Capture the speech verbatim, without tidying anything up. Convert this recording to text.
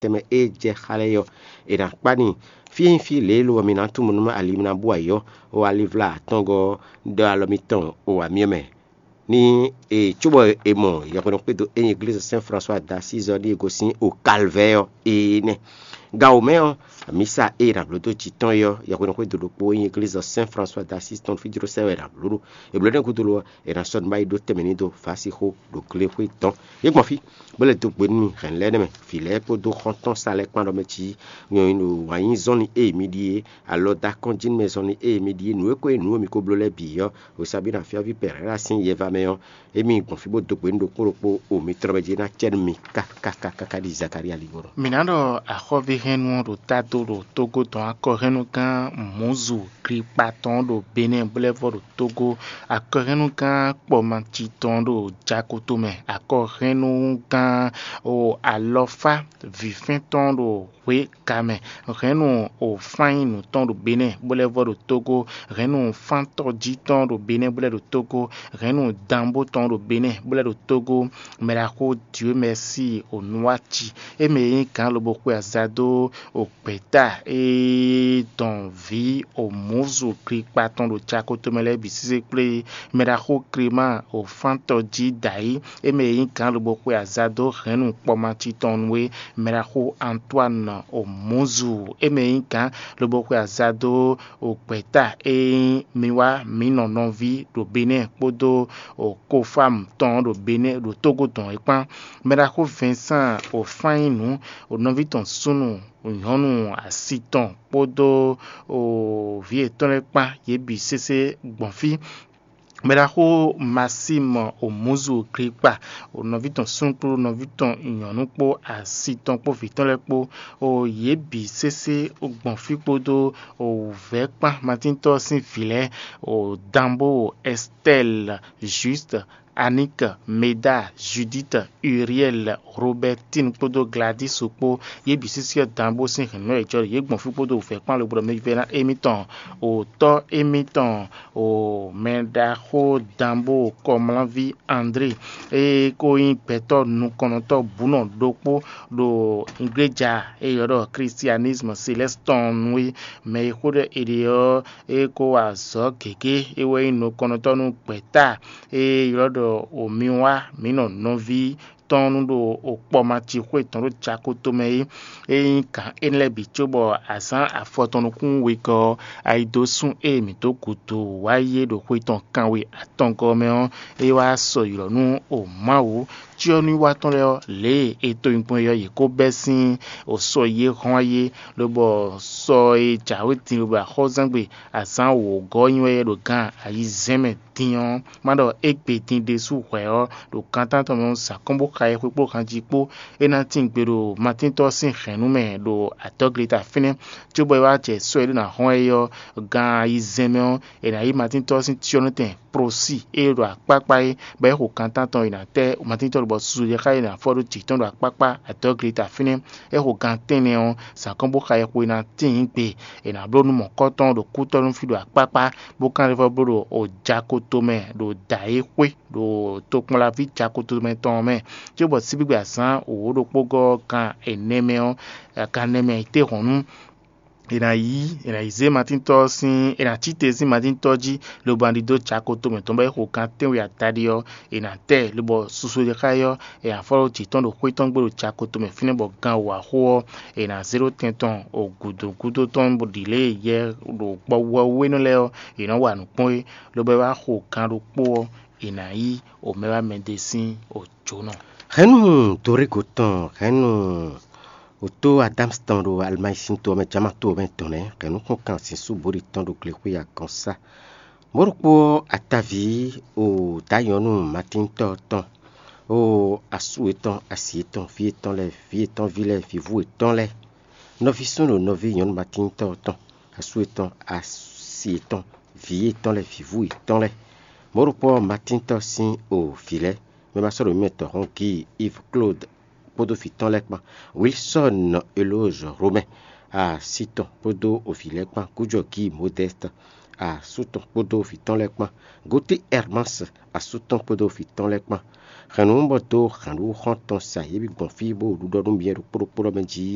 tɛnmɛ e jɛ xa lɛ́ɛ ɔ́, è nǎ kpá n'i. Fí e nyí fí lě e lo ɔ́, mi ná tunwun nú ali mi ná bú ayǐ ɔ́, o alivlá atɔngɔ́ ɔ́ ɖɔ alɔ mitɔn o amyɔ mɛ. Ní e cóbɔ è mɔ yɛhweɖɔxwédo e nyí Eglízi Sɛn Flasuwa d'Asízi ɔ́ ɖíe gosín o Kalvɛ́ɛ ɔ́, énɛ́. Gan wǒ mɛ ɔ́, mǐsa e è nǎ bló dó jǐ tɔn é ɔ́, yɛhweɖɔxwédo ɖokpó e nyí Eglízi Sɛn Flasuwa d'Asízi tɔn fí jló sɛ́ wɛ è nǎ bló ɖó. È blǒ énɛ́ gúdo lo ɔ́, è nǎ sɔ́ nǔ ba yi ɖó tɛnmɛ ní dó vǎsixó ɖo glexwé tɔn. Yě gbɔn fí, bó lɛ́ dó gbe nú mì hɛ̌nnu lɛ́ɛ nɛ́ mɛ, vǐ lɛ́ɛ kpódó xɔ́ntɔn sa lɛ́ɛ kpán ɖɔ mɛ cí nyɔ̌nu wǎn yí zɔ́nni e mi ɖíe, alɔ dó akɔ́njínú mɛ zɔ́nni e mi ɖíe, nǔ e ko nyí nǔ e mi ko bló lɛ́ɛ bǐ ɔ́, Hosabina fyɔ́ví Pɛrɛ́la sín yɛva mɛ ɔ́, émí gbɔn fí bó dó gbe nú ɖokpó ɖokpó o mitɔn mɛ jí ná cɛ nú mi káká káká káká ɖi Zakalía ligbɔnɔ. Mǐ ná ɖɔ axɔ́ví hɛ́nnu ɔ́ ɖo tádo ɖo Tógó tɔn akɔhɛ́nnugán Mǔzu Glipatɔn ɖo Benɛ́ɛ bó lɛ́ vɔ ɖo Tógó, akɔhɛ́nnugán Kpɔmaci tɔn ɖo Jakoto mɛ, akɔhɛ́nnugán o alɔfá vǐfɛ́n tɔn ɖo hwě ka mɛ, hɛ̌nnu o fánnyínu tɔn ɖo Benɛ́ɛ bó lɛ́ vɔ ɖo Tógó, hɛ̌nnu fántɔ́jí tɔn ɖo Benɛ́ɛ bó lɛ́ ɖo Tógó, hɛ̌nnu danbó tɔn ɖo Benɛ́ɛ bó lɛ́ ɖo Tógó, mɛɖaxó Dieu merci o nuwáci, é mɛ e nyí gǎn lobo xwe aza dó o gbɛ̌ta e dɔn vǐ o mǔzu Glipatɔn ɖo Jakoto mɛ lɛ́ɛ bǐ sésé kplé, mɛɖaxó Klema o fántɔ́jí dǎyi, é mɛ e nyí gǎn lobo xwe aza dó hɛ̌nnu Kpɔmaci tɔn nú é, mɛɖaxó Antoine o mǔzu, é mɛ e nyí gǎn lobo xwe aza dó o gbɛ̌ta e nyí mi wá mǐ nɔ nɔví ɖo Benɛ́ɛ kpódó o Kofam tɔn ɖo Benɛ́ɛ ɖo Tógó dɔn é kpán. Mɛɖaxó Vincent o fán nyí nǔ o nɔví tɔn súnnu nyɔ̌nu asi tɔn kpódó o vǐ yětɔn lɛ́ɛ kpán, yě bǐ sésé gbɔn fí. Mɛɖaxó Maxime o mǔzu Glipatɔn o nɔví tɔn súnnu kpó nɔví tɔn nyɔ̌nu kpó asi tɔn kpó vǐ tɔn lɛ́ɛ kpó, o yě bǐ sésé gbɔn fí kpódó o wǔvɛ́ kpán Matíntɔ́ sín vǐ lɛ́ɛ, o Danbó, o Ɛstɛ́li, Jwíst, Aník, Meda, Judíit, Uriɛ́li, Robɛ́tin kpódó Gladísu kpó, yě bǐ sésé ɔ́ Danbó sín hɛ̌nnu lɛ́ɛ jɔ yě gbɔn fí kpódó wǔvɛ́ kpán lobo ɖɔ mɛ vɛ́ná émítɔn o tɔ́ émítɔn o mɛɖaxó Danbó kɔmlánví André, e ko nyí gbɛtɔ́ nukɔnnɔtɔ́ bǔnɔ ɖokpó ɖo igleja e ylɔ́ ɖɔ Christianisme Céleste tɔn nu é, mɛ e xó ɖɔ è ɖe ɔ́, e ko wa azɔ̌ gěgé, é wɛ nyí nukɔnnɔtɔ́ nú gbɛ̌ta e ylɔ́ ɖɔ Omiwa mǐ nɔ nɔví tɔn nú ɖo okpɔmaci xwé tɔn ɖo Jakoto mɛ é. É nyí gǎn énɛ́ lɛ́ɛ bǐ cóbɔ azǎn afɔtɔn nukún wegɔ́ ɔ́, ayidosún e mǐ dó gǔdo wá yi é ɖo xwe tɔn kanwe atɔngɔ́ mɛ ɔ́, é wá sɔ ylɔ̌ nú o Mawu cyɔ́núwiwa tɔn lɛ́ɛ ɔ́, lě e è to nyi gbɔn é ɔ́, yě ko bɛ́ sín o sɔ yi é hɔ́n wá yi é, lobɔ sɔ e jǎwe din lobo axɔ́zangbe azǎn wǒgɔ́ nyi wɛ é ɖo gan ayizɛ́n mɛ din ɔ́, má ɖɔ égbé din ɖésú hwɛ̌ ɔ́, ɖo gan tántɔn mɛ ɔ́, zǎn kɔn bó xa yɛhwe kpó hanji kpó. É ná tín gbe ɖo Matíntɔ́ sín hɛ̌nnu mɛ ɖo adɔ̌gleta fínɛ́, cóbɔ é wá jɛ sɔ́ e ɖó ná hɔn ɛ ɔ́, gan ayizɛ́n mɛ ɔ́, è nǎ yí Matíntɔ́ sín cyɔ́nɔtɛn Prosí e ɖo akpákpá é, bɔ é xo gan tántɔn è nǎ tɛ́ Matíntɔ́ lobɔ susu ɖé xá é nǎ fɔ ɖó jǐ tɔn ɖo akpákpá adɔ̌gleta fínɛ́. É xo gan tɛ́nnɛ ɔ́, zǎn kɔn bó xa yɛhwe ná tíin gbe. È nǎ bló nú mɔ̌kɔ́tɔn ɖo kútɔ́ nú fí ɖo akpákpá, bó kán ɖe vɔ bló ɖo Jakoto mɛ ɖo dǎ e xwé ɖo tokpɔnlaví Jakoto mɛ tɔn ɔ́ mɛ, cóbɔ síbígbe azǎn wǒ ɖokpó gɔ́ gan ɛnɛ mɛ ɔ́, gan ɛnɛ mɛ ayǐtéhɔ̌nnu, è nǎ yí è nǎ yi zé Matíntɔ́ sín è nǎ cí te sín Matíntɔ́ jí, lobo ná ɖidó Jakoto mɛ tɔn bɔ é xo gan tɛ́nwe adaɖé ɔ́, è nǎ tɛ lobɔ susu e xá é ɔ́, è nǎ fɔ́ ɖó jǐ tɔn ɖo xwé tɔn gbe ɖo Jakoto mɛ fínɛ́ bɔ gan wǒ axó ɔ́, è nǎ zé ɖó tɛn tɔn o gǔdo gúdo tɔn bó ɖi lě e yɛ ɖo gbɔwɛwénɔ lɛ́ɛ ɔ́, è nɔ wa nǔ kpɔ́n é, lobo é wá xo gan ɖokpó ɔ́, è nǎ yí o mɛ wá mɛ ɖé sín o jǒnɔ. Hɛ̌nnu Dorégo tɔn, hɛ̌nnu wǒtó Adámsi tɔn ɖo Alimáyi sín to ɔ́ mɛ, Jama to ɔ́ mɛ tɔn nɛ́, hɛ̌nnu kpɔ́n kan sín súbóɖi tɔn ɖo glexwé agɔ̌nsá. Mɔ̌ ɖokpó ɔ́, ataví o dǎ nyɔ̌nu Matíntɔ́ tɔn, o asú yětɔn, asi yětɔn, vǐ yětɔn lɛ́ɛ, vǐ yětɔn ví lɛ́ɛ, vǐvú yětɔn lɛ́ɛ, nɔví súnnu nɔví nyɔ̌nu Matíntɔ́ tɔn, asú yětɔn, asi yětɔn, vǐ yětɔn lɛ́ɛ, vǐvú yětɔn lɛ́ɛ. Mɔ̌ ɖokpó ɔ́, Matíntɔ́ sín o vǐ lɛ́ɛ, mɛ ma sɔ́ ɖo mí mɛ tɔn hɔn Gíi Yves Claude kpódó vǐ tɔn lɛ́ɛ kpán, Wilsɔ́n Elózɔ Romɛ́, asi tɔn kpódó o vǐ lɛ́ɛ kpán, Kújɔ Gíi Modɛ́st, asú tɔn kpódó vǐ tɔn lɛ́ɛ kpán, Gotí Ɛrmási, asú tɔn kpódó vǐ tɔn lɛ́ɛ kpán, Hɛn nǔ bɔ dó hǎnɖóxɔ́ntɔn sa yě bǐ gbɔn fí bó ɖu ɖɔ nú myɛ ɖokpó ɖokpó ɖɔ mɛ jí.